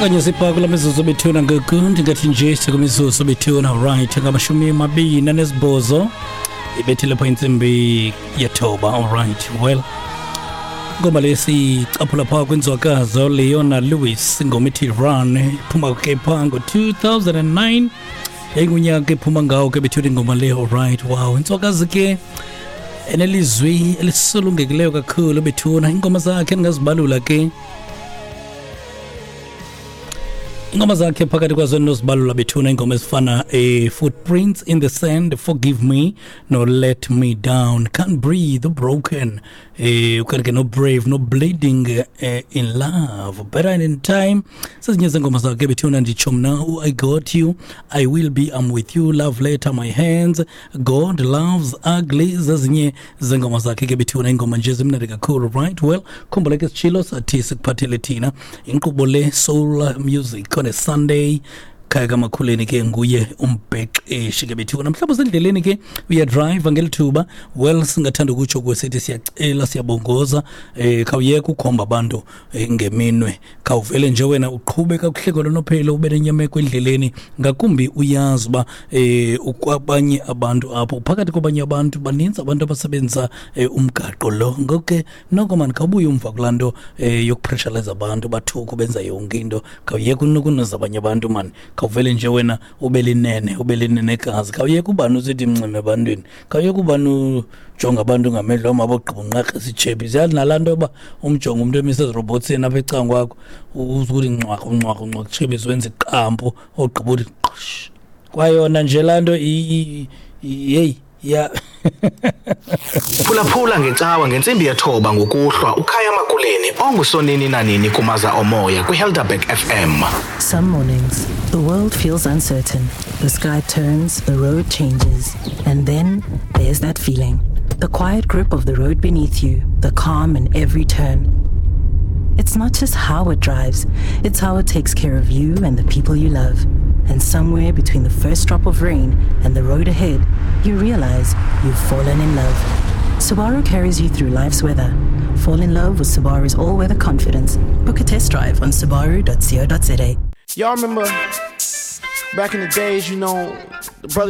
Okanye sipha kula mizuzu bethuna ngoku, ndingathi nje sikumizuzu bethuna, right, 28 ibethile pha intsimbi yethoba. Alright, well, ingoma le sicaphula phaa kwinzwakazo Leona Lewis, ingoma ithi Run, iphuma ke phaa ngo-2009, yayingunyaka ephuma ngawo ke bethuna ingoma le. Alright, wow, inzwakazi ke enelizwi elisulungekileyo kakhulu bethuna. Iingoma zakhe ndingazibalula ke, ingoma zakhe phakathi kwazo endinozibalula bethuna, ingoma ezifana Footprints in the Sand, Forgive Me, no Let Me Down, Can't Breathe, Broken, ukanti ke no Brave, no Bleeding in Love, Better in Time, sezinye zengoma zakhe bethuna. Nditsho mna I Got You, I Will Be, I'm With You, Love Letter, My Hands, God Loves Ugly, zezinye zengoma zakhe ke bethuna, ingoma nje zimnandi kakhulu. Right, well, khumbula ke sitshilo sathi sikuphathele thina inkqubo le Soul Music on a Sunday. Khaya kaMakhuleni ke nguye umbhexeshi ke bethuna. Mhlawumbi usendleleni ke, uyadriva ngeli thuba, well, singathanda ukutsho kuwe sithi siyacela, siyabongoza, khawuyeka ukhomba abantu ngeminwe. Khawuvele nje wena uqhube kakuhle kolonophelo, ube nenyameko endleleni, ngakumbi uyazi uba ukwabanye abantu apho, phakathi kwabanye abantu, baninzi abantu abasebenzisa umgaqo lo. Ngoku ke noko mani, khawubuye umva kulaa nto yokupressurize abantu, bathuku benza yonke into. Khawuyeka unukunuza abanye abantu mani, khawuvele nje wena ube linene, ube linenekazi. Khawuyeka ubani usithi mncime ebantwini, khawuyeka ubani ujonga abantu ngamehlo amabogqiba unqakrisa itshepi. Siyazi nalaa nto yoba umjonge umntu emise ezirobhotsini apha ecaleni kwakho, uzukuthi ncwaka ncwaka ncwaka itshebisi, wenza iqampu, ogqiba uthi qsh kwayona nje laa nto. Yeyi ya. Phulaphula ngecawa ngentsimbi yethoba ngokuhlwa uKhaya Makuleni ongusonini nanini kumaza omoya kwiHelderberg FM. Some mornings, the world feels uncertain. The sky turns, the road changes, and then there's that feeling. The quiet grip of the road beneath you, the calm in every turn. It's not just how it drives, it's how it takes care of you and the people you love. And somewhere between the first drop of rain and the road ahead, you realize you've fallen in love. Subaru carries you through life's weather. Fall in love with Subaru's all weather confidence. Book a test drive on subaru.co.za. Y'all remember back in the days, the brother